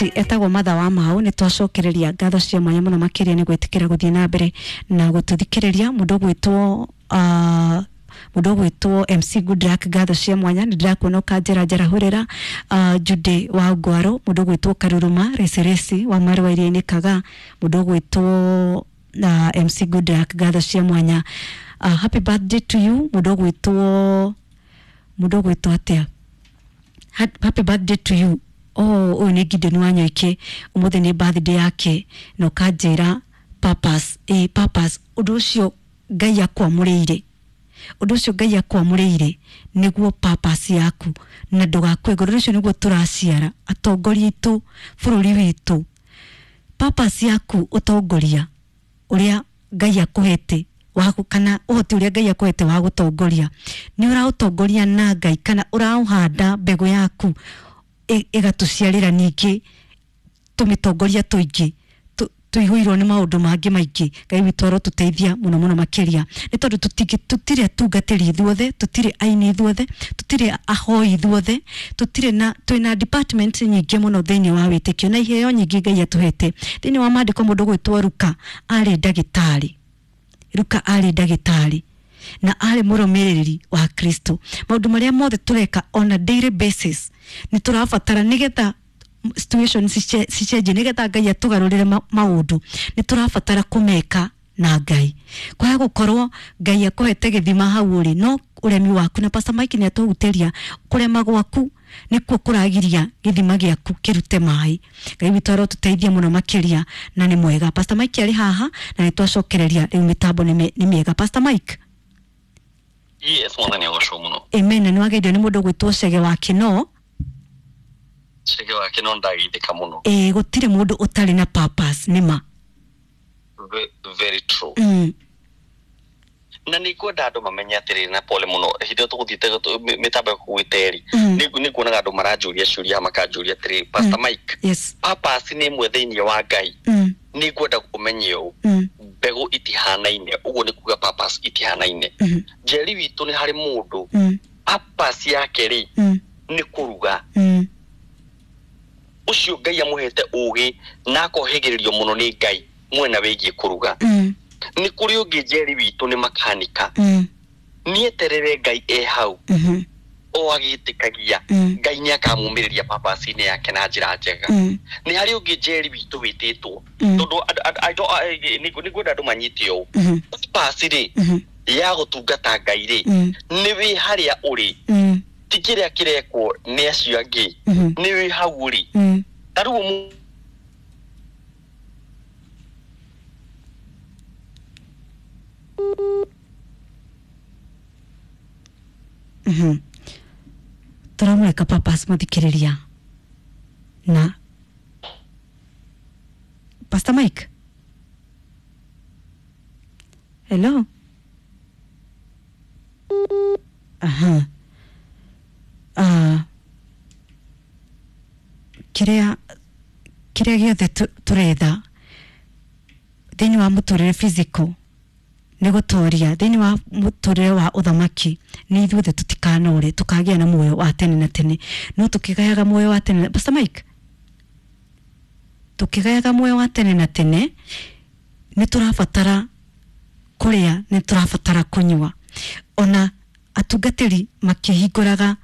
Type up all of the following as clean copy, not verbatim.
Alright, etagwo Matha wa Mau. Nĩ twacokereria ngatho cia mwanya mũno makĩria nĩ gwĩtĩkĩra gũthiĩ na mbere na gũtũthikĩrĩria. Mũndũ ũgwĩtwo MC Goodluck, ngatho cia mwanya, nĩ ndĩrakuona ũkanjĩra njarahũrĩra. Jude wa Ngwaro, mũndũ ũgwĩtwo Karuruma Recereci wa Marũa Iria-inĩ Kaga, mũndũ ũgwĩtwo MC Goodluck, ngatho cia mwanya. Happy birthday to you, mũndũ ũgwĩtwo atĩa? Happy birthday to you. Oh, ũyũ nĩ Gideon wa Nyoike, ũmũthĩ nĩ birthday yake, na ũkanjĩra purpose, purpose, ũndũ ũcio Ngai akwamũrĩire, ũndũ ũcio Ngai akwamũrĩire nĩguo purpose yaku, na ndũgakue ngoro. Ũndũ ũcio nĩguo tũraciara atongoria aitũ bũrũri witũ. Purpose yaku, ũtongoria ũrĩa Ngai akũhete wa kana ũhoti ũrĩa Ngai akũhete wa gũtongoria, nĩ ũraũtongoria na Ngai kana ũraũhanda mbegũ yaku ĩgatũciarĩra ningĩ tũmĩtongoria tũingĩ tũihũirwo nĩ maũndũ mangĩ maingĩ. Ngai witũ arotũteithia mũno mũno makĩria, nĩ tondũ tũtirĩ atungatĩri ithuothe, tũtirĩ aini ithuothe, tũtirĩ ahoi ithuothe, tũtirĩ na twĩna department nyingĩ mũno thĩinĩ wa wĩtĩkio na iheo nyingĩ Ngai atũhete thĩinĩ wa maandĩko. Mũndũ gwĩtwo Ruka arĩ ndagĩtarĩ. Ruka arĩ ndagĩtarĩ na arĩ mũrũmĩrĩri wa Kristo. Maũndũ marĩa mothe tũreka on a daily basis, nĩ tũrabatara nĩgetha situation cicenjie, nĩgetha Ngai atũgarũrĩre maũndũ, nĩ tũrabatara kũmeka na Ngai. Kwaga gũkorwo Ngai akũhete gĩthima hau ũrĩ, no ũremi waku, na Pastor Mike nĩ atũhutĩria, kũrema gwaku nĩkuo kũragiria gĩthima gĩaku kĩrute maĩ. Ngai witũ arotũteithia mũno makĩria, na nĩ mwega. Pastor Mike arĩ haha na nĩ twacokereria rĩu mĩtambo nĩ mĩega. Pastor Mike. Yes, Mwathani agocwo mũno. Amen. Na nĩ wageithio nĩ mũndũ ũgwĩtwo Cege wa Kĩno. Cege wa Kĩno, ndageithĩka mũno. Ĩĩ, gũtirĩ mũndũ ũtarĩ na purpose, nĩ ma. Very true. Na nĩ ngwenda andũ mamenye atĩrĩrĩ, na pole mũno, hĩndĩ ĩyo tũgũthiĩte mĩtambo ĩkũgwĩte rĩ, nĩ nguonaga andũ maranjũria ciũria, makanjũria atĩrĩ, "Pastor Mike, purpose nĩ ĩmwe thĩinĩ wa Ngai?" Nĩ ngwenda ũmenye ũũ, mbegũ itihanaine, ũguo nĩ kuga purpose itihanaine. Njeri witũ, nĩ harĩ mũndũ purpose yake rĩ nĩ kũruga. Ũcio Ngai amũhete ũgĩ na akohĩgĩrĩrio mũno nĩ Ngai mwena wĩgiĩ kũruga. Nĩ kũrĩ ũngĩ, Njeri witũ, nĩ makanika. Nĩeterere Ngai e hau o agĩtĩkagia, Ngai nĩ akamumĩrĩria purpose-inĩ yake na njĩra njega. Nĩ harĩ ũngĩ, Njeri witũ, wĩtĩtwo tondũ I don't- nĩ ngwenda andũ manyite ũũ, purpose rĩ ya gũtungata Ngai rĩ, nĩ wĩ harĩa ũrĩ, ti kĩrĩa kĩrekwo nĩ acio angĩ, nĩ wĩ hau ũrĩ. Ta rĩu Tũramũrĩka purpose, mũthikĩrĩria, na Pastor Mike, hello. Aha. Kĩrĩa gĩothe tũretha thĩinĩ wa mũtũrĩre physical nĩ gũtoria thĩinĩ wa mũtũrĩre wa ũthamaki, nĩ ithuothe tũtikanore, tũkagĩa na muoyo wa tene na tene. No tũkĩgayaga muoyo wa tene, Pastor Mike, tũkĩgayaga muoyo wa tene na tene, nĩ tũrabatara kũrĩa, nĩ tũrabatara kũnyua. Ona atungatĩri makĩhingũraga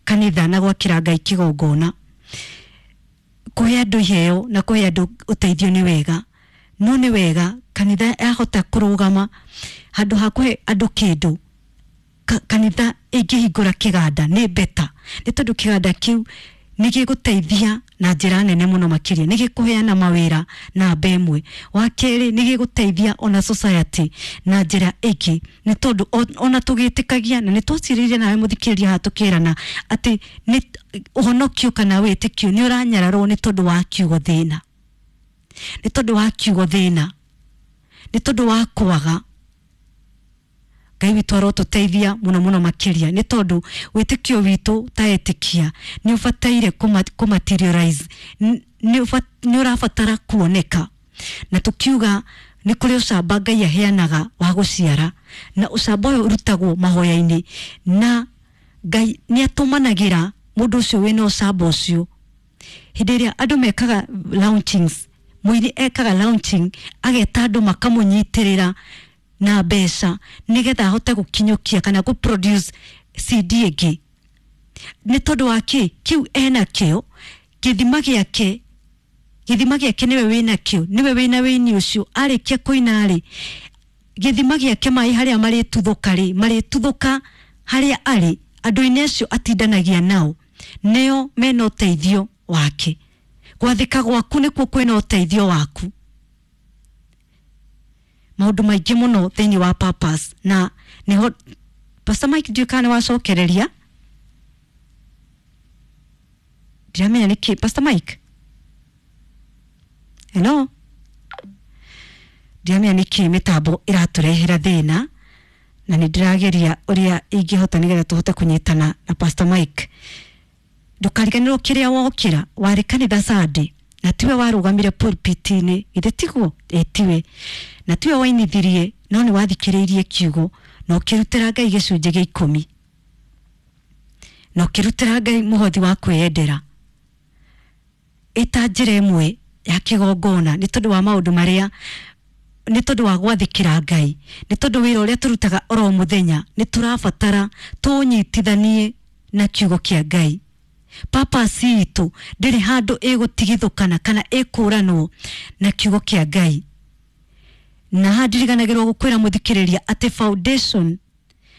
kanitha na gwakĩra Ngai kĩgongona, kũhe andũ iheo na kũhe andũ ũteithio nĩ wega, no nĩ wega kanitha yahota kũrũgama, handũ ha kũhe andũ kĩndũ, kanitha ĩngĩhingũra kĩganda nĩ beta, nĩ tondũ kĩganda kĩu nĩ gĩgũteithia na njĩra nene mũno makĩria, nĩ gĩkũheana mawĩra namba ĩmwe. Wa kerĩ, nĩ gĩgũteithia ona society na njĩra ĩngĩ, nĩ tondũ ona tũgĩtĩkagia, na nĩ twacirĩire nawe mũthikĩrĩria haha tũkĩrana atĩ nĩ ũhonokio kana wĩtĩkio nĩ ũranyararwo nĩ tondũ wa kiugo thĩna, nĩ tondũ wa kiugo thĩna, nĩ tondũ wa kwaga. Ngai witũ arotũteithia mũno mũno makĩria, nĩ tondũ wĩtĩkio witũ ta etĩkia nĩ ũbataire kũ materialize, nĩ ũrabatara kuoneka. Na tukiuga nĩ kũrĩ ũcamba Ngai aheanaga wa gũciara, na ũcamba ũyũ ũrutagwo mahoya-inĩ, na Ngai nĩ atũmanagĩra mũndũ ũcio wĩna ũcamba ũcio. Hĩndĩ ĩrĩa andũ mekaga launchings, mũini ekaga launching ageta andũ makamũnyitĩrĩra na mbeca nĩgetha ahote gũkinyũkia kana gũ produce CD ĩngĩ. Nĩ tondũ wa kĩ? Kĩu ena kĩo, gĩthima gĩake, gĩthima gĩake nĩwe wĩna kĩo, nĩwe wĩna wĩini ũcio. Arĩkia kũina rĩ, gĩthima gĩake maĩ harĩa marĩtuthũka rĩ, marĩtuthũka harĩa arĩ, andũ-inĩ acio atindanagia nao nĩo mena ũteithio wake. Gwathĩka gwaku nĩkuo kwĩna ũteithio waku. Maũndũ maingĩ mũno thĩinĩ wa purpose, na nĩho Pastor Mike ndiũĩ kana nĩwacokereria, ndiramenya nĩkĩ. Pastor Mike, hello, ndiramenya nĩkĩ mĩtambo ĩratũrehera thĩna, na nĩ ndĩrageria ũrĩa ingĩhota nĩgetha tũhote kũnyitana na Pastor Mike. Ndũkariganĩrwo kĩrĩa wokĩra warĩ kanitha Sunday na tiwe warũgamire pulpit-inĩ, githĩ tiguo? Ĩ tiwe, na tiwe wainithirie, no nĩ wathikĩrĩirie kiugo na ũkĩrutĩra Ngai gĩcunjĩ gĩa 10 na ũkĩrutĩra Ngai mũhothi wa kwĩyendera ĩta njĩra ĩmwe ya kĩgongona, nĩ tondũ wa maũndũ marĩa, nĩ tondũ wa gwathĩkĩra Ngai, nĩ tondũ wĩra ũrĩa tũrutaga oro mũthenya nĩ tũrabatara tũnyitithanie na kiugo kĩa Ngai. Purpose itũ ndĩrĩ handũ ĩgũtigithũkana kana ĩkũranwo na kiugo kĩa Ngai. Na haha ndiriganagĩrwo gũkwĩra mũthikĩrĩria atĩ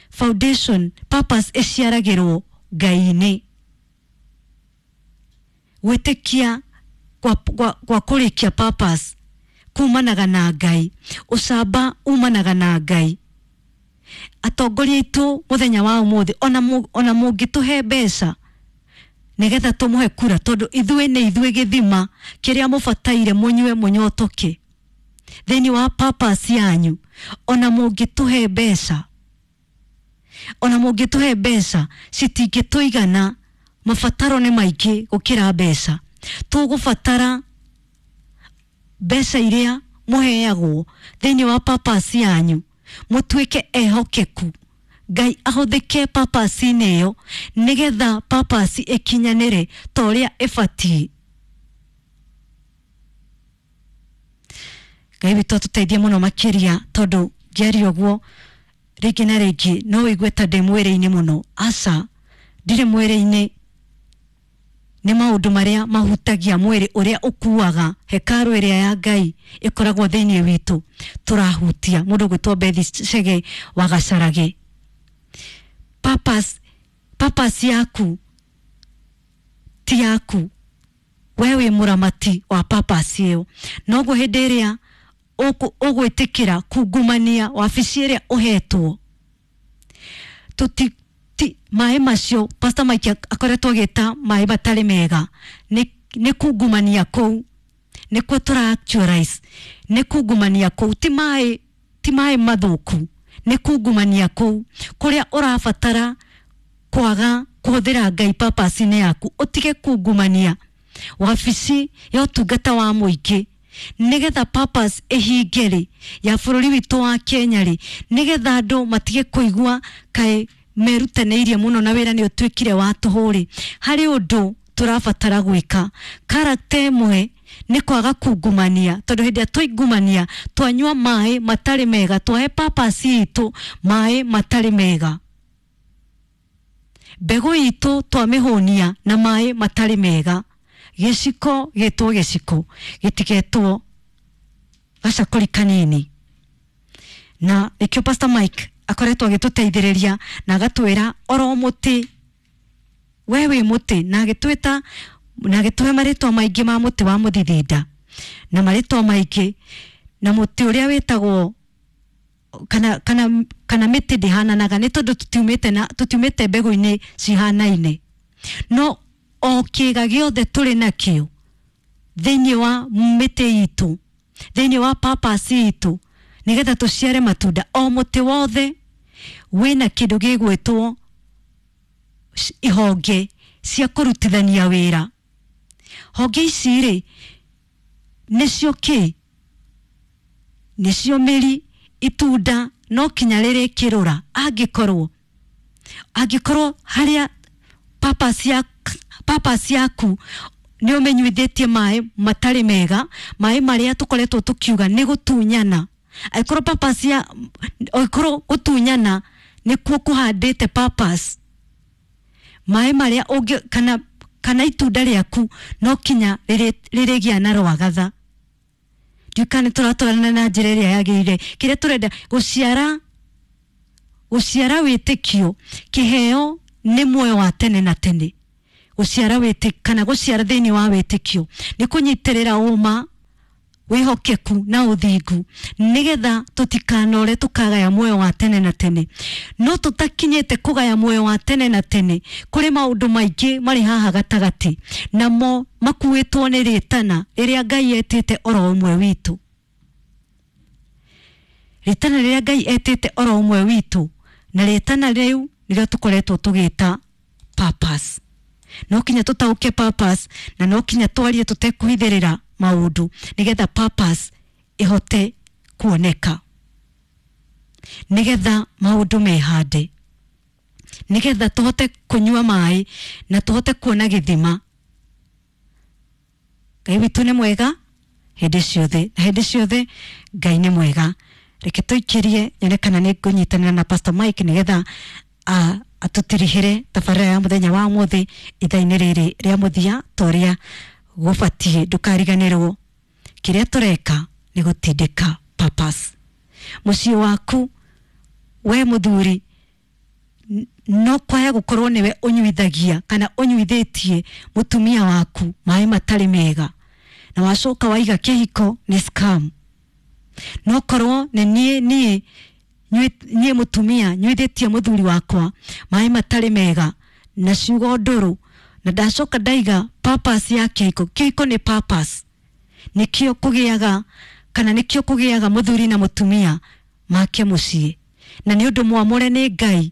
foundation purpose ĩciaragĩrwo Ngai-inĩ. Gwĩtĩkia kwa kũrĩkia purpose kumanaga na Ngai, ũcamba umanaga na Ngai. Atongoria aitũ mũthenya wa ũmũthĩ, ona mũngĩtũhe mbeca nĩgetha tũmũhe kura, tondũ ithuĩ nĩ ithuĩ gĩthima kĩrĩa mũbataire mũnyue mũnyotoke thĩinĩ wa purpose yanyu. Ona mũngĩtũhe mbeca, ona mũngĩtũhe mbeca citingĩtũigana, mabataro nĩ maingĩ gũkĩra mbeca. Tũgũbatara mbeca iria mũheagwo thĩinĩ wa purpose yanyu, mũtuĩke ehokeku, Ngai ahũthĩke purpose-inĩ ĩyo nĩgetha purpose ĩkinyanĩre ta ũrĩa ĩbatiĩ. Ngai witũ atũteithie mũno makĩria, tondũ ngĩaria ũguo rĩngĩ na rĩngĩ no wĩigue ta ndĩ mwĩrĩ-inĩ mũno. Aca, ndirĩ mwĩrĩ-inĩ. Nĩ maũndũ marĩa mahutagia mwĩrĩ ũrĩa ũkuaga hekarũ ĩrĩa ya Ngai ĩkoragwo thĩinĩ witũ tũrahutia. Mũndũ ũgwĩtwo Bethi Chege wa Gacarage, purpose yaku ti yaku, we wĩ mũramati wa purpose ĩyo. Noguo hĩndĩ ĩrĩa ũgwĩtĩkĩra kungumania wabici ĩrĩa ũhetwo, maĩ macio Pastor Mike akoretwo agĩta maĩ matarĩ mega, nĩ kungumania kũu nĩkuo tũra actualize, nĩ kungumania kũu, ti maĩ mathũku, nĩ kungumania kũu kũrĩa ũrabatara kwaga kũhũthĩra Ngai purpose-inĩ yaku, ũtige kungumania wabici ya ũtungata wa mũingĩ nĩgetha purpose ĩhinge rĩ ya bũrũri witũ wa Kenya rĩ, nĩgetha andũ matige kũigua kaĩ merutanĩirie mũno na wĩra nĩ ũtuĩkire wa tũhũ rĩ. Harĩ ũndũ tũrabatara gwĩka. Character ĩmwe nĩ kwaga kungumania, tondũ hĩndĩ ĩrĩa twaingumania twanyua maĩ matarĩ mega, twahe purpose itũ maĩ matarĩ mega, mbegũ itũ twamĩhũnia na maĩ matarĩ mega, gĩciko gĩtwo gĩciko gĩtigetwo gacakũri kanini. Na nĩkĩo Pastor Mike akoretwo agĩtũteithĩrĩria na agatwĩra oro mũtĩ, we wĩ mũtĩ, na agĩtwĩta na agĩtũhe marĩtwa maingĩ ma mũtĩ wa mũthithinda na marĩtwa maingĩ, na mũtĩ ũrĩa wĩtagwo kana mĩtĩ ndĩhananaga, nĩ tondũ tũtiumĩte mbegũ-inĩ cihanaine, no o kĩga gĩothe tũrĩ nakĩo thĩinĩ wa mĩtĩ itũ, thĩinĩ wa purpose itũ, nĩgetha tũciare matunda. O mũtĩ wothe wĩna kĩndũ gĩgwĩtwo ihonge cia kũrutithania wĩra. Honge ici rĩ nĩcio kĩ? Nĩcio mĩri, itunda no kinya rĩrĩkĩrũra angĩkorwo harĩa purpose yaku Nĩ ũmĩnyuithĩtie maĩ matarĩ mega, maĩ marĩa tũkoretwo tũkiuga nĩ gũtunyana. Angĩkorwo purpose ya angĩkorwo gũtunyana nĩkuo kũhandĩte purpose, maĩ marĩa ũngĩ kana itunda rĩaku no kinya rĩrĩgĩa na rwagatha. Ndiũĩ kana nĩ tũratwarana na njĩra ĩrĩa yagĩrĩire. Kĩrĩa tũrenda gũciara wĩtĩkio, kĩheo nĩ muoyo wa tene na tene. Gũciara wĩtĩkio kana gũciara thĩinĩ wa wĩtĩkio nĩ kũnyitĩrĩra ũma, wĩhokeku na ũthingu, nĩgetha tũtikanore tũkagaya muoyo wa tene na tene. No tũtakinyĩte kũgaya muoyo wa tene na tene, kũrĩ maũndũ maingĩ marĩ haha gatagatĩ, namo makuĩtwo nĩ rĩtana rĩrĩa Ngai etĩte oro ũmwe witũ. Rĩtana rĩrĩa Ngai etĩte oro ũmwe witũ, na rĩtana rĩu nĩrĩo tũkoretwo tũgĩta purpose. No kinya tũtaũke purpose, na no kinya twarie tũtekũhithĩrĩra maũndũ, nĩgetha purpose ĩhote kuoneka, nĩgetha maũndũ mehande, nĩgetha tũhote kũnyua maĩ na tũhote kuona gĩthima. Ngai witũ nĩ mwega hĩndĩ ciothe, na hĩndĩ ciothe Ngai nĩ mwega. Reke tũikĩrie nyone kana nĩ ngũnyitanĩra na Pastor Mike nĩgetha atũtirihĩre tabarĩra ya mũthenya wa ũmũthĩ ithaa-inĩ rĩrĩ rĩa mũthia ta ũrĩa gũbatiĩ. Ndũkariganĩrwo kĩrĩa tũreka nĩ gũtindĩka purpose. Mũciĩ waku we mũthuri no kwaya gũkorwo nĩwe ũnyuithagia kana ũnyuithĩtie mũtumia waku maĩ matarĩ mega, na wacoka waiga kĩhiko nĩ scam. No korwo nĩ niĩ mũtumia nyuithĩtie mũthuri wakwa maĩ matarĩ mega na ciugo ndũrũ, na ndacoka ndaiga purpose ya kĩhiko. Kĩhiko nĩ purpose, nĩkĩo kũgĩaga kana nĩkĩo kũgĩaga mũthuri na mũtumia make mũciĩ, na nĩ ũndũ mwamũre nĩ Ngai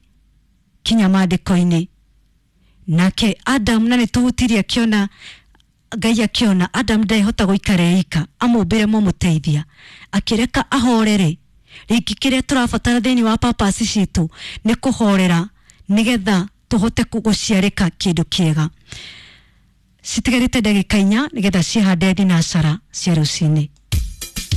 kinya maandĩko-inĩ. Nake Adam, na nĩtũhutirie akĩona Ngai akĩona Adam ndehota gũikara eika, amũmbĩre mũmũteithia, akĩreka ahorere. Rĩngĩ kĩrĩa tũrabatara thĩinĩ wa purpose citũ nĩ kũhorera, nĩgetha tũhote gũciarĩka kĩndũ kĩega. Citigarĩte ndagĩka 4 nĩgetha cihande thinacara cia rũcinĩ.